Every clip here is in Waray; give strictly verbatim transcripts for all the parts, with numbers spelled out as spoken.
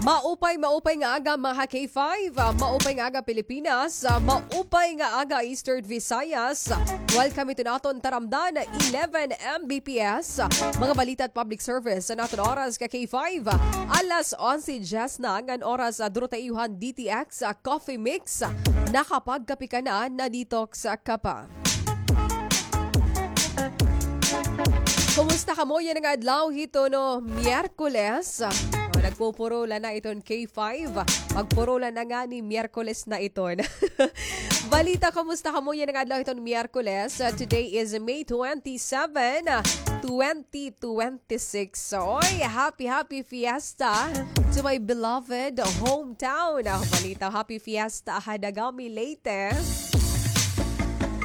Maupay, maupay nga aga, mga K five. Ah, maupay nga aga, Pilipinas. Ah, maupay nga aga, Eastern Visayas. Welcome ito naton taramdan, eleven M B P S. Mga balita at public service sa naton oras ka K five. Alas onse diyes na ngan oras, ah, duro ta iyo han D T X, ah, Coffee Mix. Nakapagkape ka na, na-detox ka pa. Kumusta kamo yana nga adlaw hiton Miyerkules? O, nagpupurulan na iton K five. Magpurulan na ngani, Miyerkules na iton. Balita, kumusta kamo yana nga adlaw hiton Miyerkules? Uh, today is May twenty-seven, uh, twenty twenty-six. Oy, happy, happy fiesta to my beloved hometown. Ah, balita, happy fiesta ha Dagami, Leyte.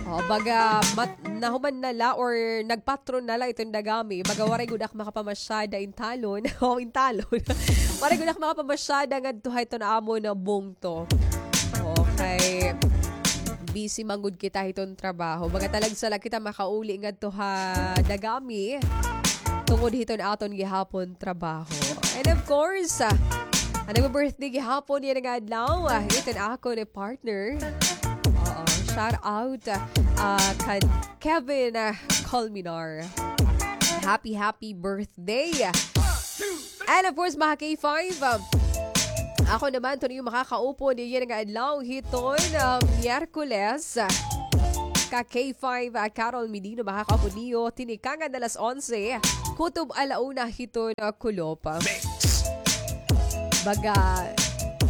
Oh, baga mat-, nahuman na la or nagpatron na la iton Dagami. Baga waray gud ak makapamasyada intalon. O, intalon. Waray gud ak makapamasyada ngadto ha iton amon bungto. Okay. Busy man gud kita hiton trabaho. Baga talagsa la kita makauli ngadto ha Dagami. Tungod hiton aton gihapon trabaho. And of course, ah, an nagbi-birthday gihapon yana nga adlaw, ah, iton akon partner. Oo, shout out, ah, kan Kevin, ah, Colmenar. Happy, happy birthday. And of course, mga K five, ah, ako naman, ito niyo makakaupod yana nga adlaw hiton, ah, Miyerkules. Ka K five, ah, Carol Medino, makakaupod niyo tinikangan alas onse, kutob ala una hiton, ah, kulop. Baga,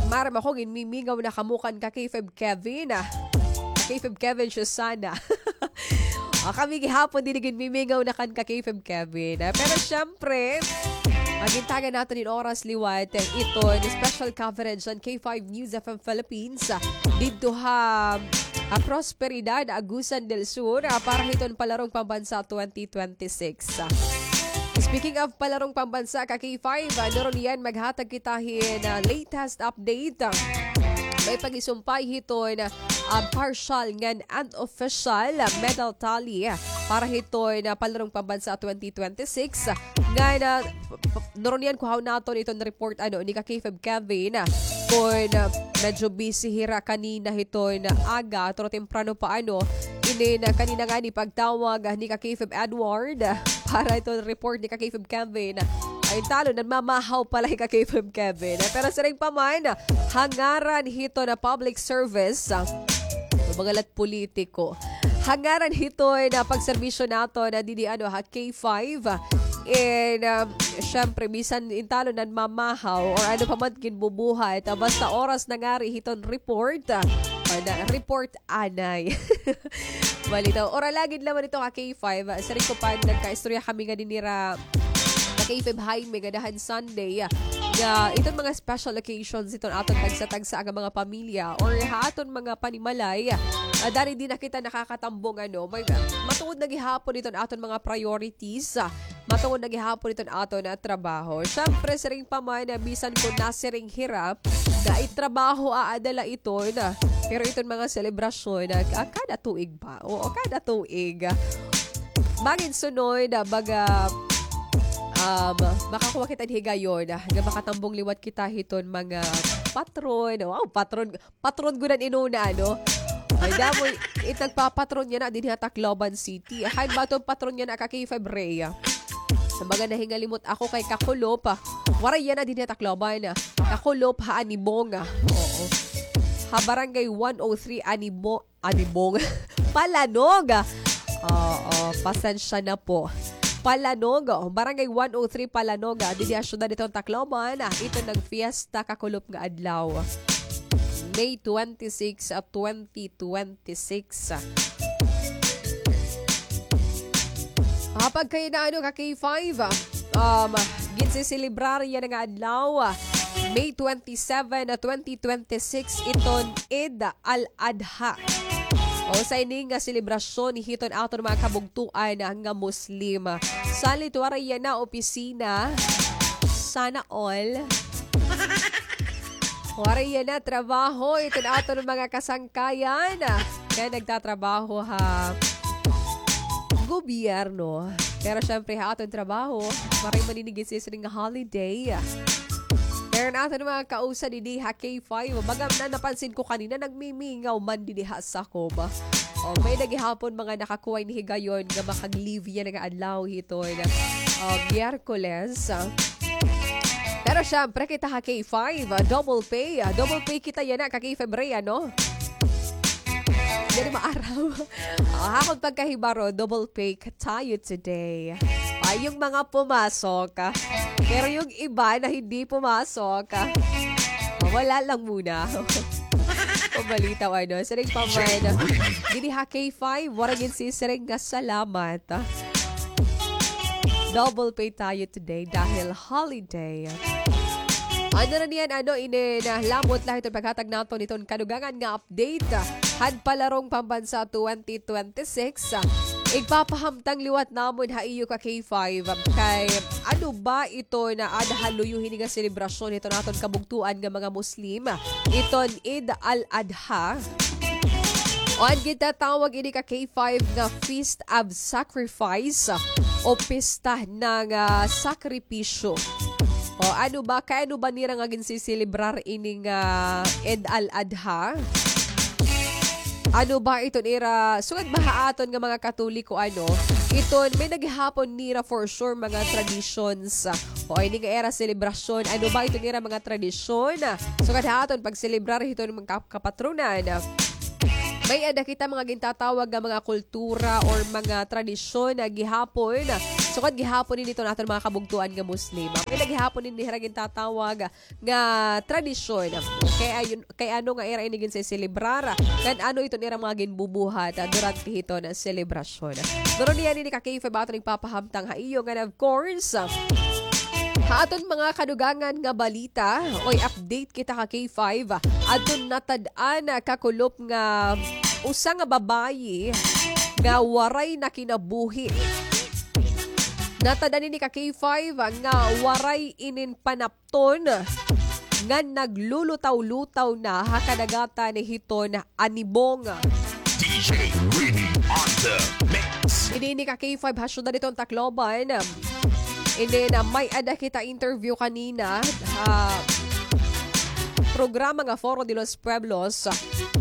maaram ako, ginmimingaw na kamo kan ka K five Kevin, ah. Ka K five Kevin, Susana. Ah, kami gihapon, diri ginmimingaw na kan ka K five Kevin. Ah, pero syempre, magintagan naton in oras liwat, eh, iton special coverage han K five News F M Philippines, ah, didto ha, ah, Prosperidad, Agusan del Sur, ah, para hiton Palarong Pambansa twenty twenty-six. Ah, speaking of Palarong Pambansa, ka K five, ah, nuron niyan maghatag kita hin, ah, latest update. Ah, may pag-isumpay hiton, ah, partial ngan unofficial medal tally para hiton Palarong Pambansa twenty twenty-six. Ngan, ah, p-, p-, nuron niyan kuhaon naton iton report, ano, ni ka K five Kevin, ah, kon, ah, medyo busy hira kanina hiton aga, pero temprano pa, ano, inin, ah, kanina ngani pagtawag, ah, ni ka K five Edward, ah, para iton report ni ka K five Kevin. Ay, talo, nagmamahaw pala hi ka K five Kevin. Ah, pero siring pa man, ah, ha ngaran hiton public service, ah, mga lat politiko. Ha ngaran hiton pagserbisyo naton didi, ano, ha K five. And, um, syempre, bisan intalo nagmamahaw or ano pa man ginbubuhat, ah, basta oras na ngari hiton report, ah, or na, report anay. Balita, ora lagi naman ito ka K five. Ah, siring ko pa, nagkaistorya kami nga dinhi ra ka K five Jaime nga dahan Sunday, ah, nga iton mga special occasions iton aton tagsa-tagsa nga mga pamilya or ha aton mga panimalay, ah, dari di na kita nakakatambong, ano, may, matuod na gihapon iton aton mga priorities, ah, matuod na gihapon iton aton, ah, trabaho. Syempre, siring pa man, ah, bisan kon nasiring hira, nga it trabaho aada la iton, ah, pero iton mga selebrasyon, ah, ah, kada tuig pa. Oo, kada tuig. Mangin sunod, ah, baga, um, makakuha kita hin higayon, ah, nga makatambong liwat kita hiton mga patron. Wow, patron, patron gud an inuna, ano? Ay, damo, it nagpapatron yana dinhi ha Tacloban City. Hain ba iton patron yana ka K five Rhea? Baga nahingalimot ako kay kakulop, ah. Waray yana dinhi ha Tacloban, ah. Kakulop ha Anibong, ah. Oo. Ha Barangay one oh three Anibo-, Anibong. Palanog, ah. Oo, pasensya na po. Palanog, oh, Barangay one oh three Palanog, ah, didi ha syudad hiton Tacloban, ah, iton nagfiesta kakulop nga adlaw. May twenty-six, ah, twenty twenty-six. Ah, pagkay na, ano, ka K five, ah, um, ginseselebrar yana nga adlaw, ah, May twenty-seven, ah, twenty twenty-six, iton Eid al-Adha. O, usa ini nga selebrasyon hiton aton mga kabugtoan nga Muslim. Salit waray yana opisina. Sana all. Waray yana trabaho iton aton mga kasangkayan nga nagtatrabaho ha gobyerno. Pero syempre, ha aton trabaho, waray man ini ginsiring nga holiday. Pero naton mga kausa didi ha K five, baga na napansin ko kanina, nagmimingaw man didi ha sakob. O, may-ada gihapon mga nakakuha hin higayon nga makaglibya na nga adlaw hiton, ah, Miyerkules. Pero syempre, kita ha K five, ah, double pay, ah, double pay kita yana ka K five Ray, ano? Diri maaraw. Ah, akon pagkahibaro, double pay ka tayo today. Ay, yung mga pumasok, ah. Pero yung iba na hindi pumasok, ah, wala lang muna. Pabalitaw, ano, siring pa man. Didi ha K five, waray gin sisiring nga salamat, ah. Double pay tayo today dahil holiday. Ano na niyan, ano, inin, ah, lamot la hiton paghatag naton hiton kadugangan nga update, ah, han Palarong Pambansa twenty twenty-six. Ah, igpapahamtang liwat namon ha iyo ka K five, ah, kay ano ba ito na ada ha luyo hini nga selebrasyon hiton aton kabugtoan nga mga Muslim, ah, iton Eid al-Adha. O an gintatawag ini ka K five nga Feast of Sacrifice, ah, o pista ng, ah, sakripisyo. O ano ba, kay ano ba nira nga ginsiselebrar ini nga Eid al-Adha? Ano ba iton ira, sugad ba ha aton nga mga Katoliko, ano, iton may-ada gihapon nira for sure mga traditions, ah, o ini nga ira selebrasyon, ano ba iton ira mga tradisyon? Ah, sugad ha aton pagselebrar hiton mga kap-, kapatronan, ah, may-ada kita mga gintatawag nga mga kultura or mga tradisyon na gihapon, ah, sugad gihapon ini hiton aton mga kabugtoan nga Muslim. May-ada gihapon ini hira gintatawag nga tradisyon. Kay ayon, kay ano nga ira ini ginseselebrar, ngan ano iton ira mga ginbubuhat, ah, durante hiton selebrasyon. Pero niyan ini ka K five aton igpapahamtang ha iyo, ngan of course, ah, ha aton mga kadugangan nga balita, oy, update kita ka K five, ah, aton natad-an, ah, kakulop nga usa nga babayi nga waray na kinabuhi. Natad-an ini ka K five, ah, nga waray inin panap ton nga naglulutaw-lutaw na ha kadagatan hiton Anibong. D J Rini on the mix. Ini ini ka K five ha syudad hiton Tacloban. Ini na may-ada kita interview kanina ha programa nga Foro de los Pueblos.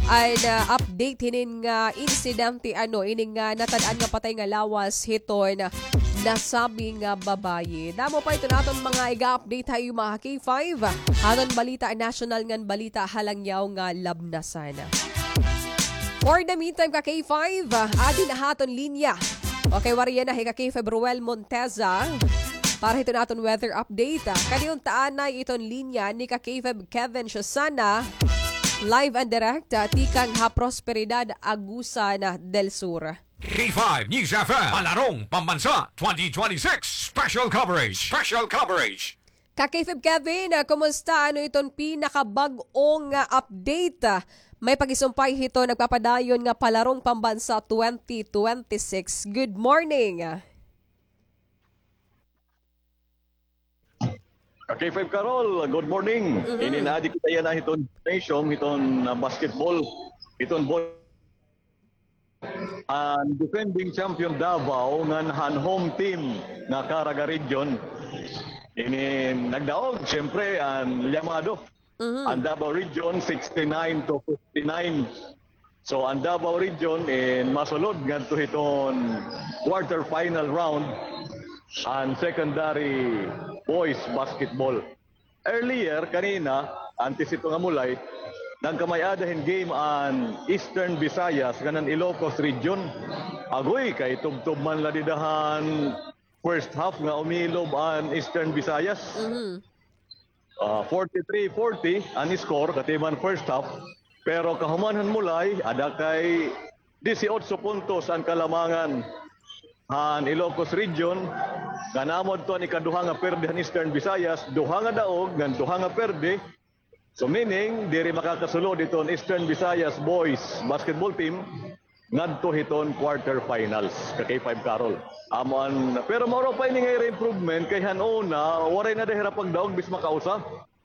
An, ah, update hinin nga insidente, ano, ini nga natad-an nga patay nga lawas hiton nasabi nga babayi. Damo pa iton aton mga iga-update ha iyo mga K five. Aton balita nasyonal ngan balita ha langyaw nga labnasan. For the meantime, ka K five, adi na ha aton linya. Okay, waray yana hi ka K five Ruel Monteza para hiton aton weather update. Kadi unta anay iton linya ni ka K five Kevin Shosana, live and direct, ah, tikang ha Prosperidad, Agusan del Sur. K five News F M, Palarong Pambansa twenty twenty-six Special Coverage. Special Coverage. Ka K five Kevin, ah, kumusta? Ano iton pinakabag-o nga update? Ah, may pagisumpay hito nagpapadayon nga Palarong Pambansa twenty twenty-six. Good morning. Ka K five Carol, good morning. Mhm. Ini na adi kita yana hiton nation, hiton, ah, basketball, hiton boy. An defending champion Davao ngan han home team nga Caraga Region. Ini nagdaog, siyempre, an Llamado. Mhm. An Davao Region, sixty-nine to fifty-nine. So, an Davao Region in masulod ngadto hiton quarterfinal round an secondary boys basketball. Earlier, kanina, antes ito nga mulay, nagkamay-ada hin game an Eastern Visayas ngan an Ilocos Region. Agoy, kay tubtob man la dida han first half nga umilob an Eastern Visayas. Mhm. Ah, forty-three forty an score, katiman first half. Pero kahuman han mulay, ada kay disiotso puntos an kalamangan han Ilocos Region, ngan amo adto an ikaduha nga perde han Eastern Visayas, duha nga daog ngan duha nga perde. So, meaning, diri makakasulod iton Eastern Visayas Boys Basketball Team ngadto hiton quarterfinals, ka K five Carol. Amo an, pero maura pa ini nga ira improvement, kay han una, waray na da hira pagdaog, bis makausa.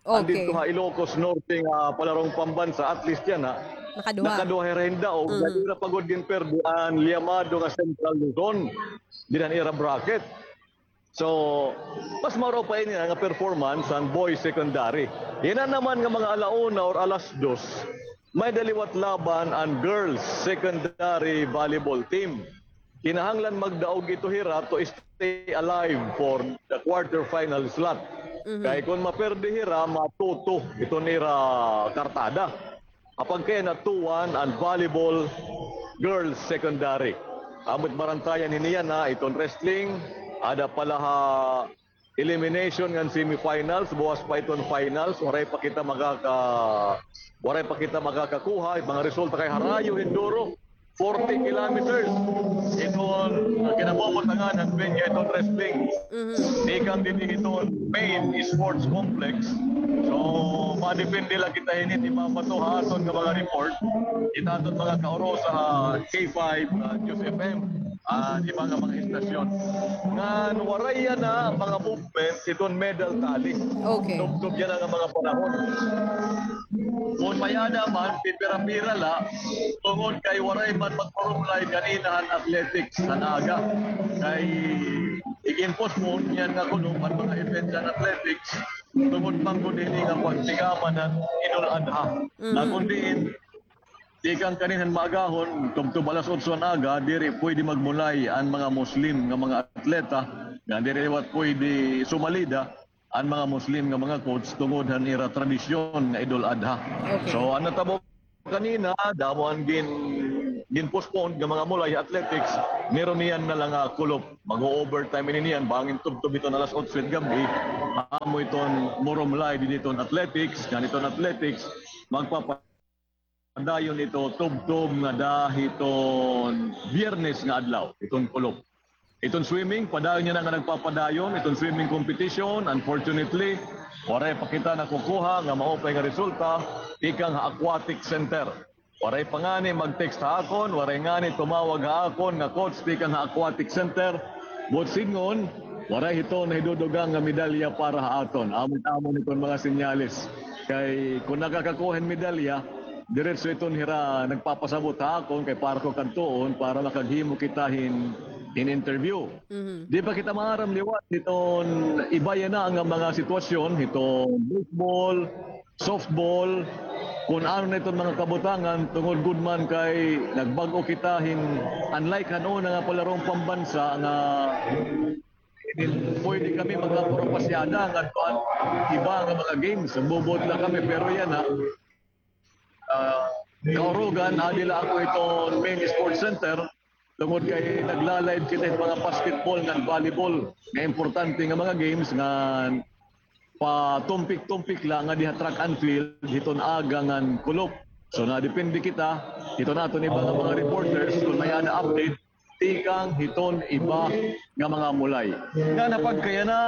An didto ha Ilocos Norte nga Palarong Pambansa, at least yana, nakaduha. Nakaduha hira hin daog, mhm, diri na pa gud ginperde an Llamado nga Central Luzon dinhi han ira bracket. So, mas mauro pa ini nga performance an boys secondary. Yana naman nga mga ala una or alas dos, may-ada liwat laban an girls secondary volleyball team. Kinahanglan magdaog ito hira to stay alive for the quarterfinal slot. Kay kon maperde hira, ma-two two iton ira kartada. Apagkay na two one an volleyball girls secondary. Amo it barantayan hini yana, iton wrestling, ada pa la ha elimination ngan semifinals, buwas pa iton finals, waray pa kita makaka-, waray pa kita makakakuha, mga resulta kay harayo hin duro. Forty kilometers iton kinabubutangan han venue iton wrestling. Tikang dinhi iton main sports complex. So, madepende la kita hini, imabato ha aton nga mga report, kita aton mga kaurosa ha K five, ah, News F M, ah, iba nga mga istasyon. Ngan waray yana mga movement iton medal tally. Okay. Tubtob yana nga mga panahon. Kon may-ada man, pipira-pira la, tungod kay waray man magpurumlay ganina han athletics han aga. Kay igin-postpone yana nga kulop an mga events han athletics, tungod man gud hini nga pagtigaman han Eid al-Adha. Na kon diin, tikang kanin han maagahon, tubtob alas otso han aga, diri pwede magmulay an mga Muslim nga mga atleta, nga diri liwat pwede sumalida an mga Muslim nga mga coach tungod han ira tradisyon nga Eid al-Adha. Okay. So, an natabo kanina, damo an gin-, gin-postpone nga mga mulay athletics, meron niyan na la nga kulop. Mag-o-overtime ini niyan, bangin tubtob iton alas otso it gab-i, amo iton murumlay dinhi iton athletics, ngan iton athletics, magpapa- padayon ito tubtob ngada hiton Biyernes nga adlaw, iton kulop. Iton swimming, padayon yana nga nagpapadayon, iton swimming competition, unfortunately, waray pa kita nakukuha nga maupay nga resulta tikang ha aquatic center. Waray pa ngani mag-text ha akon, waray ngani tumawag ha akon nga coach tikang ha aquatic center. Buot sidngon, waray hiton nahidudugang nga medalya para ha aton. Amo it amon hiton mga senyales. Kay kon nakakakuha hin medalya, diretso iton hira nagpapasabot ha akon kay para ko kadtuon para makaghimo kita hin, hin interview. Di pa kita maaram liwat hiton iba yana nga mga sitwasyon, hiton baseball, softball, kon ano na iton mga kabutangan, tungod gud man kay nagbag-o kita hin, unlike han una nga palaron pambansa nga pwede kami magkapuro pasyada ngadto han iba nga mga games, bubuot la kami, pero yana, ah, kaurugan, adi la ako iton main sports center, tungod kay nagla-live kita hin mga basketball ngan volleyball nga importante nga mga games ngan patumpik-tumpik la ngadi ha track and field hiton aga ngan kulop. So, nadepende kita hiton aton iba nga mga reporters kon may-ada update tikang hiton iba nga mga mulay. Ngan ha pagkayana,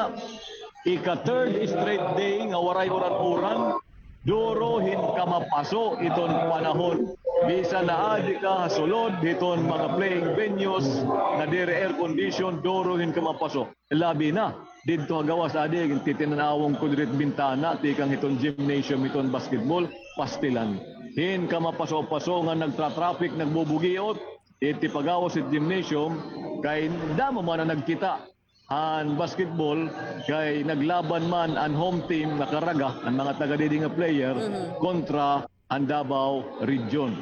ika-third straight day nga waray uran-uran, duro hin kamapaso iton panahon. Bisan naadi ka ha sulod hiton mga playing venues nga diri air condition, duro hin kamapaso. Labi na didto ha gawas, adi, titinan-awon ko diri it bintana tikang hiton gymnasium hiton basketball, pastilan hin kamapaso-paso nga nagtra-traffic, nagbubugiot. It tipagawas it gymnasium, kay damo man an nagkita han basketball, kay naglaban man an home team nga Caraga, an mga taga didi nga player, kontra an Davao Region.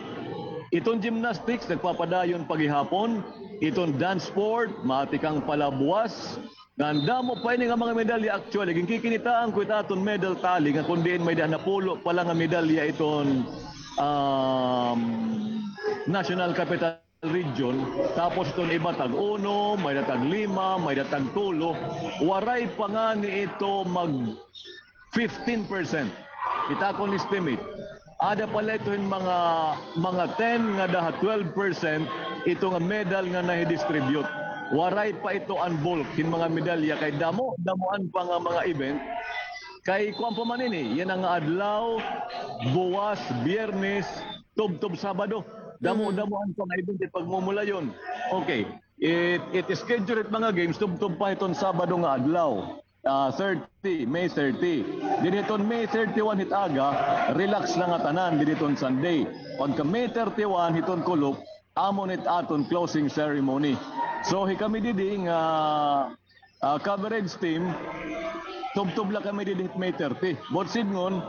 Iton gymnastics nagpapadayon pa gihapon, iton dance sport, matikang palabuwas, ngan damo pa ini nga mga medalya. Actually, ginkikinitaan ko it aton medal tally nga kon diin may-ada napulo pa la nga medalya iton, um, National Capital Region, tapos iton iba tag-uno, may-ada tag-lima, may-ada tag-tulo, waray pa ngani ito mag fifteen percent. Kita kon estimate. Ada pa la ito hin mga, mga ten ngada ha twelve percent ito nga medal nga nahi-distribute. Waray pa ito an bulk hin mga medalya kay damo, damoan pa nga mga event. Kay kuan pa man ini, yana nga adlaw, buwas, Biyernes, tubtob Sabado. Damo-damoan pa nga event it pagmumulayon. Okay. It, it schedule it mga games tubtob pa hiton Sabado nga adlaw. Ah, thirty, May thirty. Dinhi hiton May thirty-one hit aga, relax na nga tanan dinhi hiton Sunday. Pagka May thirty-one hiton kulop, amo nit aton closing ceremony. So, hikami didi nga ah, coverage team, tubtob la kami didi hit May thirty. Buot sidngon,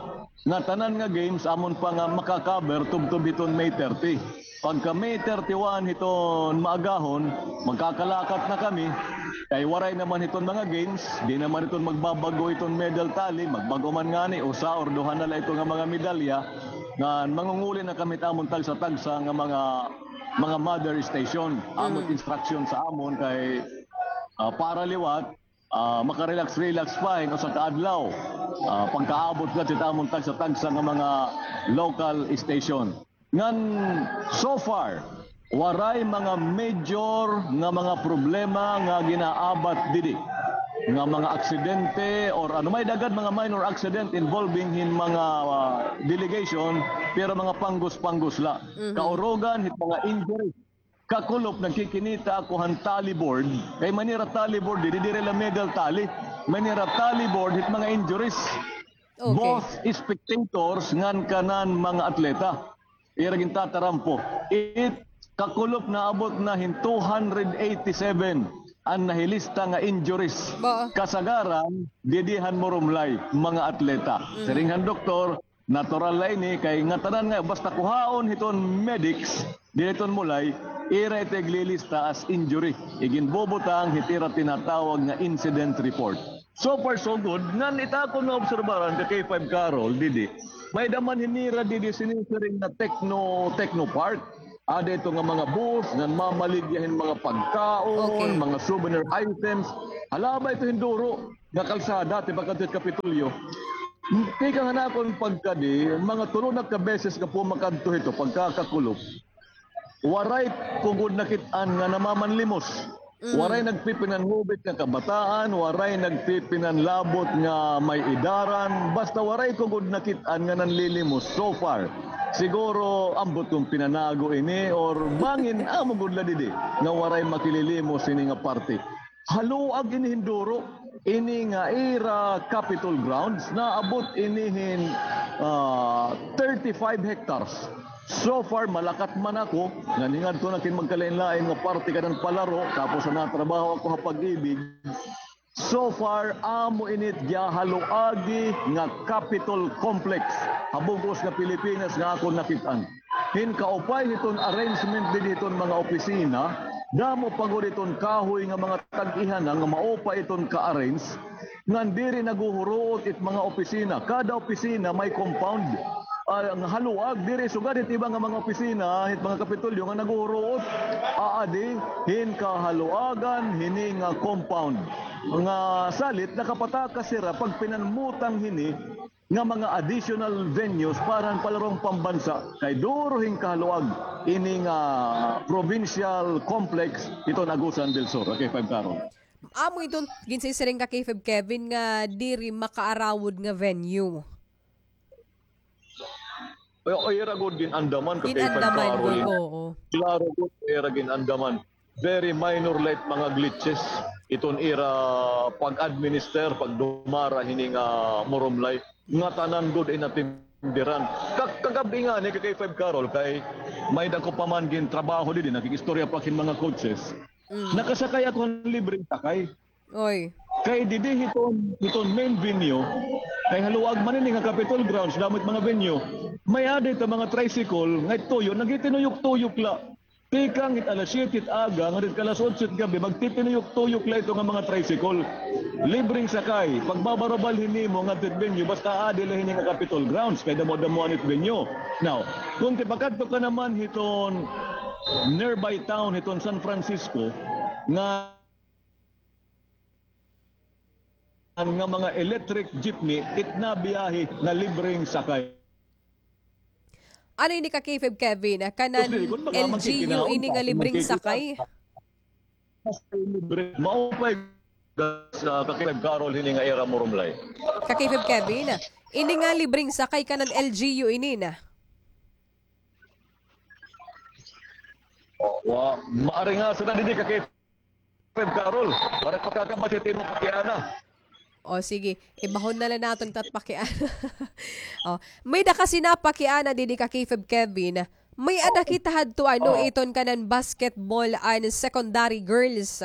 nga tanan nga games, amon pa nga maka-cover, tubtob hiton May thirty. Pagka May thirty-one hiton maagahon, magkakalakat na kami. Kay waray naman hiton mga games, di naman hiton magbabag-o hiton medal tally, magbag-o man ngani, usa or duha na la ito nga mga medalya, nga mangunguli na kami hit amon tagsa-tagsa nga mga, mga mother station. Amon instruction sa amon kay, ah, para liwat, ah, makarelax-relax pa hin usa ka adlaw. Ah, pagkaabot gad hit amon tagsa-tagsa nga mga local station. Ngan, so far, waray mga major nga mga problema nga ginaabat didi. Nga mga aksidente or ano, may-ada gad mga minor accident involving hin mga, ah, delegation, pero mga panggos-panggos la. Kaurugan hit mga injury. Kakulop, nagkikinita ako han tally board. Kay may nira tally board, didi, diri la medal tally. May nira tally board, hit mga injuries. Okay. Both spectators ngan kanan mga atleta. Ira gintatarampo. It kakulop naabot na hin two hundred eighty-seven an nahilista nga injuries. Kasagaran, didi han Murumlay, mga atleta. Siring han doktor, natural la ini kay ngatanan nga basta kuhaon hiton medics, didi hiton Mulay, ira ito iglilista as injury. Iginbubutang hit ira tinatawag nga incident report. So far, so good. Ngan it akon naobserbaran ka K five Carol, didi. May-ada man hin nira didi sinisiring nga techno, techno park. Ada ito nga mga booth, ngan mamaligya hin mga pagkaon, mga souvenir items. Hala ba ito hin duro nga kalsada, ti pakadto hit Kapitolyo. Tikang han akon pagkadi, mga tulo na ka beses nga pumakadto hito, pagkakakulop. Waray ko gud nakit-an nga namamanlimos. Waray nagpipinanhubit nga kabataan, waray nagpipinanlabot nga may-idaran, basta waray ko gud nakit-an nga nanlilimos so far. Siguro ambot kon pinanago ini or bangin amo gud la didi nga waray makililimos ini nga parte. Haluag ini hin duro. Ini nga ira Capitol grounds, naabot ini hin, ah, thirty-five hectares. So far, malakat man ako, ngan hingadto na kin magkalain-lain nga parte kanan palaro, tapos natrabaho ako ha Pag-ibig. So far, amo ini it gihaluagi nga Capitol Complex ha bug-os nga Pilipinas nga akon nakit-an. Hin kaupay hiton arrangement didi hiton mga opisina, damo pa gud iton kahoy nga mga tag-ihanan nga maupay iton ka-arrange, ngan diri naghuhuruot it mga opisina. Kada opisina may compound. Ah, nga haluag, diri sugad hit iba nga mga opisina, hit mga Kapitolyo nga naghuhuruot. Aadi hin kahaluagan hini nga compound. Nga salit, nakapatakas hira pagpinanmutang hini nga mga additional venues para han palaron pambansa, kay duro hin kahaluag ini nga provincial complex hiton Agusan del Sur. Okay, five Carol. Amo iton ginsisiring ka K five Kevin nga diri makaarawod nga venue. Ay, ay, ira gud gin-andaman ka K five Carol. Gin-andaman gud, oo. Klaro gud, ira gin-andaman. Very minor la it mga glitches iton ira pag-administer, pagdumara hini nga Murumlay. Ngatanan gud inatenderan. Ka-, kagab-i ngani ka K five Carol kay may-ada ko pa man gintrabaho didi, nakikistorya pa ak hin mga coaches. Mm. Nakasakay ako hin libreng sakay. Oy. Kay didi hiton, hiton main venue, kay haluag man ini nga Capitol grounds, damo it mga venue. May-ada ito mga tricycle nga tuyo, nagtitinuyok-tuyok la. Tikang it alas siyete it aga, ngadto it alas otso it gab-i, magtitinuyok-tuyok la ito nga mga tricycle. Libreng sakay, pagbabarabal hini mo ngadto it venue, basta aadi la hini nga Capitol grounds, kay damo-damoan it venue. Now, kon tipakadto ka naman hiton nearby town, hiton San Francisco, nga nga mga electric jeepney, it nabiyahe nga libreng sakay. Ano ini ka K five Kevin? Kanan L G U ini nga libreng sakay? Maupay sa ka K five Carol hini nga ira Murumlay. Ka K five Kevin, ini nga libreng sakay kanan L G U ini na. Wa, maaring asa na didi ka K five Carol. Para pakakabat it imo pakiana. O, sige. Ibahon na la naton it at pakiana. O, may-ada kasi napakiana didi ka K five Kevin. May-ada kita hadto, ano, iton kanan basketball an secondary girls.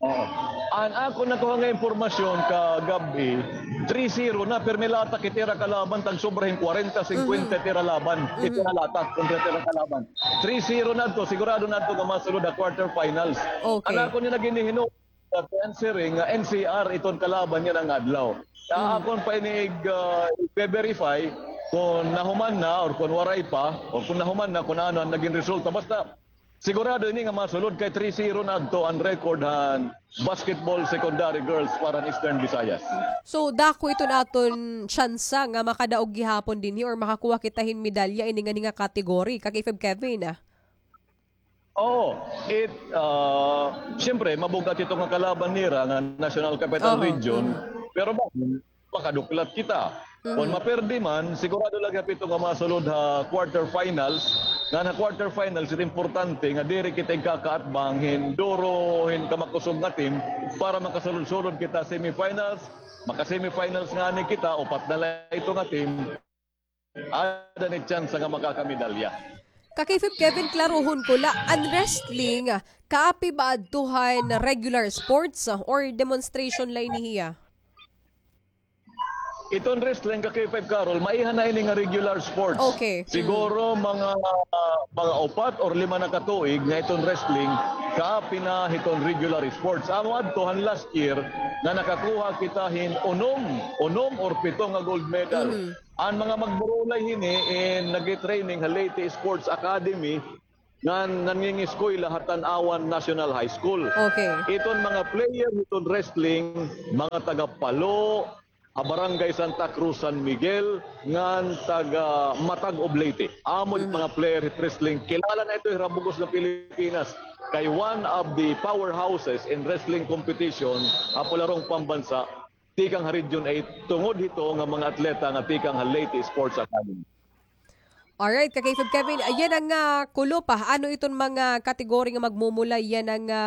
Oo. An akon nakuha nga impormasyon kagab-i, three zero na, pirmi latak it ira kalaban, tag sobra hin kwarenta, singkwenta it ira laban, it ira latak kontra it ira kalaban. Three zero na adto, sigurado na adto nga masulod ha quarter finals. Okay. An akon nga ginhihinumdom sa Ten Siring nga N C R iton kalaban niyan nga adlaw. Kaya akon pa ini ig, ah, i-verify kung nahuman na or kung waray pa, or kung nahuman na, kung ano an naging resulta. Basta, sigurado ini nga masulod kay three zero na adto an record han basketball secondary girls para han Eastern Visayas. So, dako iton aton tsansa nga makadaog gihapon dinhi or makakuha kita hin medalya ini nga, ini nga category, Kakay Feb Kevin, ah. Oo, it, ah, siyempre, mabug-at ito nga kalaban nira nga National Capital Region, pero ba, makaduklat kita. Kon maperdi man, sigurado la gihap ito nga masulod ha quarter finals. Ngan ha quarter finals, it importante nga diri kita igkakaatbang hin duro, hin kamakusog nga team para makasulod-sulod kita semifinals. Maka-semifinals ngani kita, upat na la ito nga team. Ada ni tsansa nga makakamedalya. Kakay Feb Kevin, klaruhon ko la, an wrestling, kaapi ba adto han regular sports, ah, or demonstration la ini hiya? Iton wrestling, Kakay Feb Carol, maiha na ini nga regular sports. Okay. Siguro mga, mga upat or lima na ka tuig nga iton wrestling, kaapi na hiton regular sports. Amo adto han last year nga nakakuha kita hin unom, unom or pito nga gold medal. An mga magburulay hini in nag-training ha Leyte Sports Academy ngan nangingiskwela ha Tanauan National High School. Okay. Iton mga player hiton wrestling, mga taga Palo, ha Barangay Santa Cruz, San Miguel, ngan taga Matag of Leyte. Amo it mga player hit wrestling. Kilala na ito ha bug-os nga Pilipinas. Kay one of the powerhouses in wrestling competition ha palarong pambansa tikang ha Region eight, tungod hito nga mga atleta nga tikang ha Leyte Sports Academy. Alright, Kakay Feb Kevin, yana nga kulop, ah, ano iton mga kategory nga magmumulay yana nga,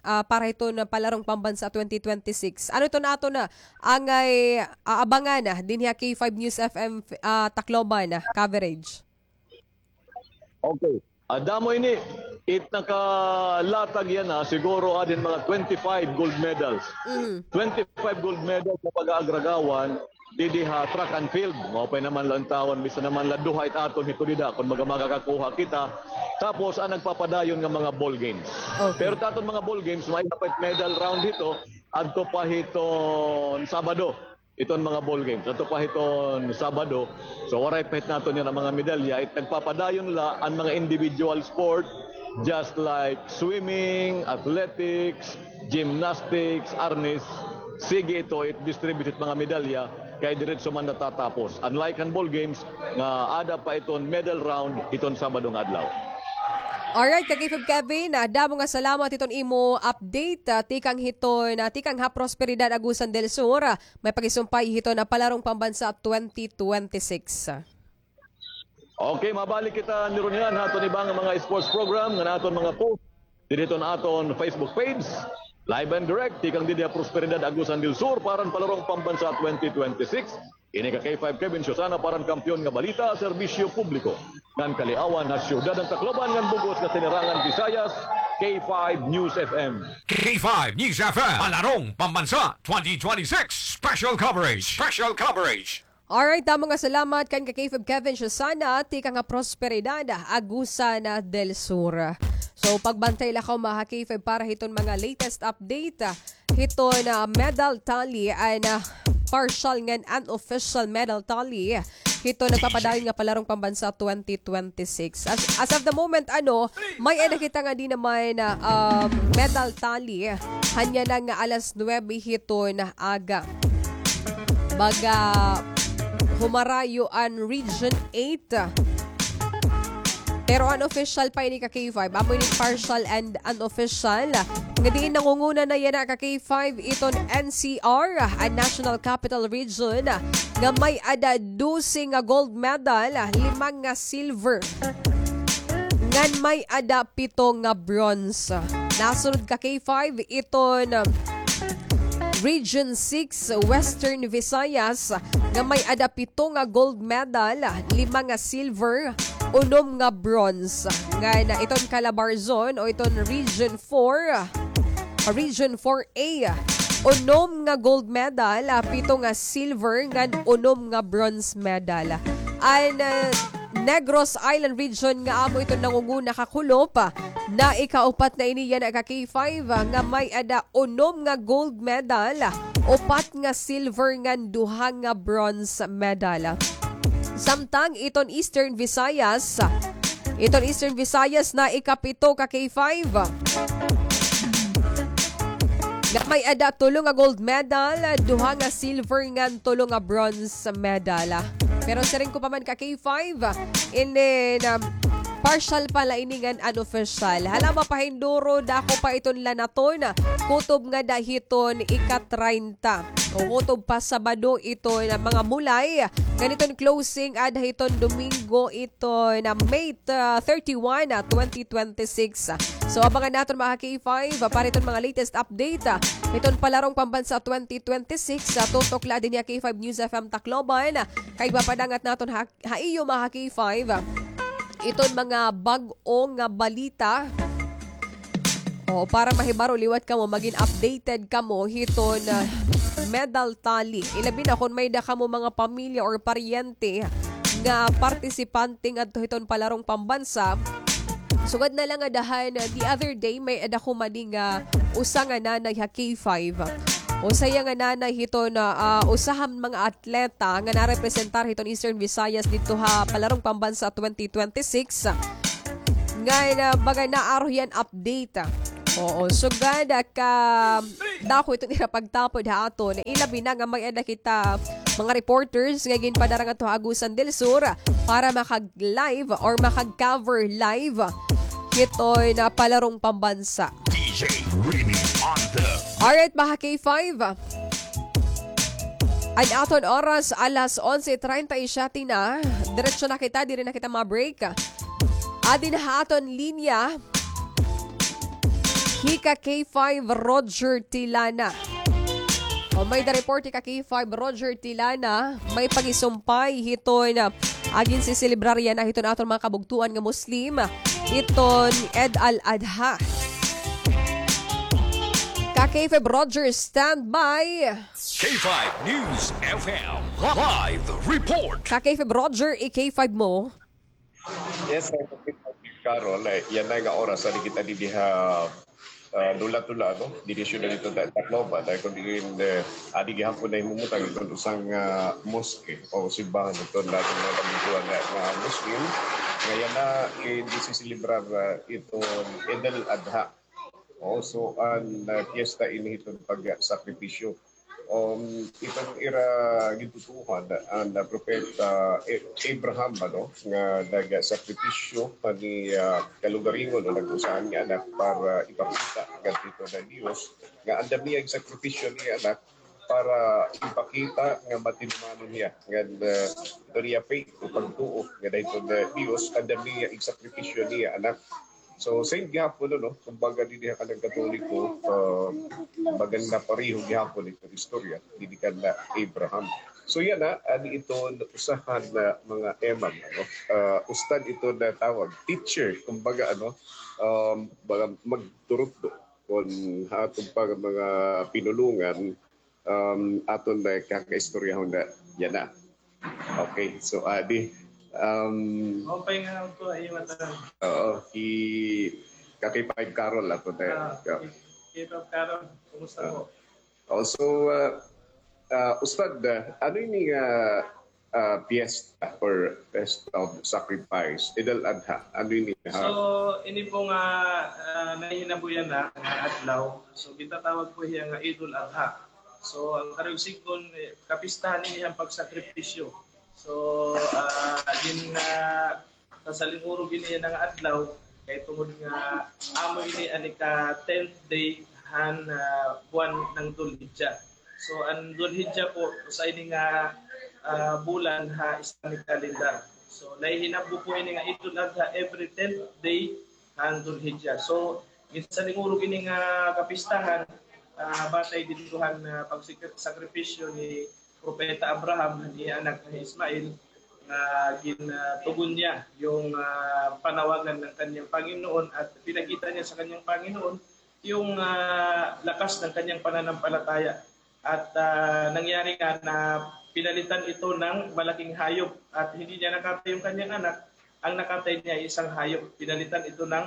ah, para hiton palarong pambansa twenty twenty-six? Ano iton aton, ah, angay aabangan, ah, dinhi ha K five News F M, ah, Tacloban, ah, coverage? Okay. Ah, damo ini, it nakalatag yana, siguro adin mga twenty-five gold medals. Twenty-five gold medals nga pag-aagragawan didi ha track and field. Maupay naman la intawon, bisan naman la duha it aton hito dida, kon maga makakakuha kita. Tapos, an nagpapadayon nga mga ball games. Okay. Pero it aton mga ball games, may dapat medal round hito, adto pa hiton Sabado. Iton mga ball games. Adto pa hiton Sabado. So, waray pa hit naton yana mga medalya. It nagpapadayon la an mga individual sport, just like swimming, athletics, gymnastics, arnis. Sige ito, it distribute it mga medalya, kay diretso man natatapos. Unlike han ball games, nga ada pa iton medal round, iton Sabado nga adlaw. Alright, Kakay Feb Kevin, ah, damo nga salamat hiton imo update, ah, tikang hiton, ah, tikang ha Prosperidad, Agusan del Sur, ah, may pakisumpay hiton palarong pambansa twenty twenty-six. Okay, mabalik kita nirunian ha aton iba nga mga sports program nga aton mga post didi hiton aton Facebook page. Live and direct, tikang didi ha Prosperidad, Agusan del Sur, para han palarong pambansa twenty twenty-six. Ini ka K five Kevin Susana para han Kampiyon nga Balita, Serbisyo Publiko ngan Kaliawan ha Siyudad han Tacloban ngan bug-os nga Sinirangan Visayas, K five News F M. K five News F M, Palarong Pambansa twenty twenty-six Special Coverage. Special Coverage. Alright, damo nga salamat kan ka K five Kevin Susana, tikang ha Prosperidad, Agusan del Sur. So, pagbantay la kamo ha K five para hiton mga latest update. Hiton, ah, medal tally, an, ah, partial ngan unofficial medal tally hiton nagpapadayon nga palarong pambansa twenty twenty-six. As, as of the moment, ano, may-ada kita ngadi naman, ah, um, medal tally. Hanyana nga alas nuwebe hiton aga. Baga humarayo an Region eight. Pero unofficial pa ini ka K five. Amo ini partial and unofficial. Nga diin nangunguna na yana ka K five iton N C R, an National Capital Region, nga may-ada dose nga gold medal, lima nga silver, ngan may-ada pito nga bronze. Nasunod ka K five iton Region six, Western Visayas, nga may-ada pito nga gold medal, lima nga silver, unom nga bronze. Ngan iton Calabarzon o iton Region four, Region four A, unom nga gold medal, ah, pito nga silver, ngan unom nga bronze medal. An, ah, Negros Island Region nga amo iton nangunguna ka kulop, ah, naikaupat na ini yana ka K five, ah, nga may-ada unom nga gold medal, upat nga silver, ngan duha nga bronze medal. Samtang iton Eastern Visayas, iton Eastern Visayas naikapito ka K five nga may-ada tulo nga gold medal, duha nga silver, ngan tulo nga bronze medal. Pero siring ko pa man ka K five, inin, um, partial pa la ini ngan unofficial. Hala, mapahinduro, dako pa iton lanaton, kutob ngada hiton ika-treinta. O kutob pa Sabado iton mga mulay. Ngan iton closing aada hiton Domingo iton May, ah, thirty-one, ah, twenty twenty-six. So, abangan naton, mga ka-K five, ah, para iton mga latest update, ah, iton Palarong Pambansa twenty twenty-six, ah, tutok la dinhi ha K five News F M Tacloban. Kay ipapadangat naton ha, ha iyo, mga ka-K five, ah, iton mga bag-o nga balita. O, para mahibaro liwat kamo, magin updated kamo hiton, ah, medal tally. Ilabi na kon may-ada kamo mga pamilya or paryente nga partisipante ngadto hiton Palarong Pambansa. Sugad na la ngada han, ah, the other day, may-ada ko madi nga usa nga nanay ha K five. Usa hiya nga nanay hiton, ah, ah, usa han mga atleta nga narepresentar hiton Eastern Visayas didto ha Palarong Pambansa twenty twenty-six. Ngan, ah, baga naaro hiya han update. Oo, sugad, ah, kadako iton ira pagtapod ha aton. Ilabi na nga may-ada kita mga reporters nga ginpadara ngadto ha Agusan del Sur para makag-live or makag-cover live hiton, ah, Palarong Pambansa. D J Remy on the Alright, mga ka-K five. An aton oras, alas onse treinta y siete na. Diretso na kita, diri na kita ma-break. Adi na ha aton linya hi ka-K five Roger Tilana. O, may-ada report hi ka-K five Roger Tilana. May pangisumpay hiton, ah, ginseselebrarya na hiton aton mga kabugtoan nga Muslim, iton Eid al-Adha. Ka-K five Roger, stand by. K five News F M live report. Ka-K five Roger, i-K five mo. Yes, sir. Carol, eh, yana nga oras, adi kita dinhi ha, ah, Dula-Dula, no? Dinhi ha syudad hiton Tacloban, ay kon diin, eh, adi gihapon nahimumutang iton usa nga, ah, mosque o simbahan hiton aton mga kabugtoan nga, nga Muslim. Nga yana, eh, ginseselebrar, ah, iton Eid al-Adha. O, so, an, ah, piyesta ini hiton pagsakripisyo. Um, iton ira gintutuohan, an, ah, propeta, eh, Abraham, ano, nga nagsakripisyo pa ni, ah, kalugaringon o nag-usa han iya anak para ipakita ngadto hiton Dios nga andam niya igsakripisyo an iya anak para ipakita nga matinumanon hiya ngan, ah, iton iya faith o pagtuo ngada hiton Dios, andam niya igsakripisyo an iya anak. So, same gihapon, ano, kumbaga, dinhi ha kanan Katoliko, ah, bagan napareho gihapon iton istorya dinhi kan Abraham. So, yana, adi iton usa han mga imam, ano, ah, ustad iton natawag, teacher, kumbaga, ano, um, baga magturutdo kon ha aton pa nga mga pinulongan, um, aton, eh, kakaistoryahon na yana. Okay, so, adi, um, Maupay nga adlaw ha iyo ngatanan. Oo, hi Ka-K five Carol ato na. Ah, Ka- K five Carol, kumusta po? Also, ah, ah, Ustad, ah, ano ini nga, ah, fiesta or Fest of Sacrifice, Eid al-Adha? Ano ini, ha? So, ini po nga, ah, nahihinabo yana nga adlaw. So, gintatawag po hiya nga Eid al-Adha. So, an karuyag sidngon, eh, kapistahan ini han pagsakripisyo. So, ah, gin, ah, sa salingurog ini yana nga adlaw, kay tungod nga amo ini an ika-tenth day han, ah, buwan ng Dhul Hijjah. So, an Dhul Hijjah po, usa ini nga, ah, bulan ha Islamic calendar. So, nahihinabo po ini nga Eid al-Adha every tenth day han Dhul Hijjah. So, ginsalingurog ini nga kapistahan, ah, batay didto han, ah, pagsik-, sakripisyo ni Propeta Abraham han iya anak nga hi Ismael, nga gin-, ah, tugon niya yung, ah, panawagan ng kanyang Panginoon at pinakita niya sa kanyang Panginoon yung, ah, lakas ng kanyang pananampalataya. At, ah, nangyari nga na pinalitan ito ng malaking hayop at hindi niya nakatay yung kanyang anak. Ang nakatay niya ay isang hayop. Pinalitan ito ng,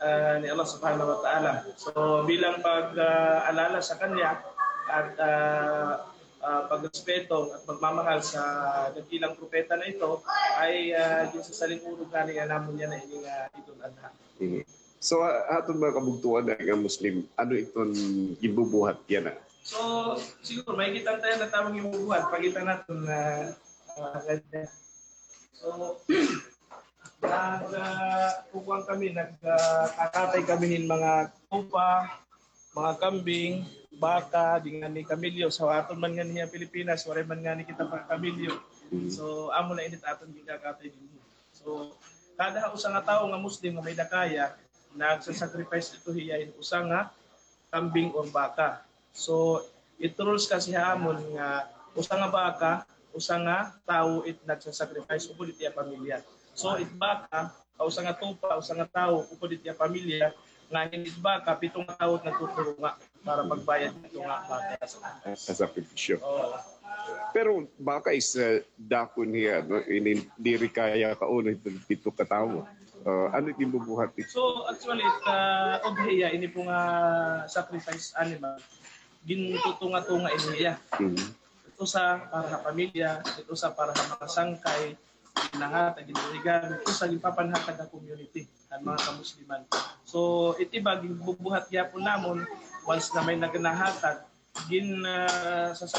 ah, ni Allah Subhanahu wa Ta'ala. So, bilang pag, ah, alala sa kanya at, ah, ah, pagrespeto at pagmamahal sa dakilang propeta na ito, ay, ah, ginsasaling-urog ngani nga namon niya na ini nga Eid al-Adha. Mhm. So, ah, aton mga kabugtuan nga Muslim, ano iton ginbubuhat yana? So, siguro, may kita tayo na tamang ginbubuhat. Pakita naton na, ah, ganyan. So, nag, ah, kukuan kami, nag, ah, kakatay kami hin mga tupa, mga kambing, baka, di ngani kamilyo. Sa aton man ngani ha Pilipinas, waray man ngani kita pagkamilyo. Mhm. So, amo na ini it aton ginkakatay dinhi. So, kada usa nga tawo nga Muslim nga may dakaya, nagsasacrifice ito hiya hin usa nga kambing or baka. So, it rules kasi ha amon nga usa nga baka, usa nga tawo it nagsasacrifice upod it iya pamilya. So, it baka, usa nga tupa, usa nga tawo upod it iya pamilya, nga hin it baka, pito nga tawo it nagtuturunga para pagbayad nito nga baka sa, sa sakripisyo. Oo. Pero baka is, uh, dakon hiya, no? Ini diri kaya kauno hin pito ka tawo. Uh, ano it ginbubuhat? So, actually, it, uh, udhiya, ini po nga sacrifice animal, gintutunga-tunga ini hiya. Mhm. It usa para ha pamilya, it usa para ha mga sangkay, nahatag, ginregalo, it usa ginpapanhatag ha community, han mga kamusliman. So, it iba, ginbubuhat gyapon namon, once na may nagnahatag, gin, ah, sa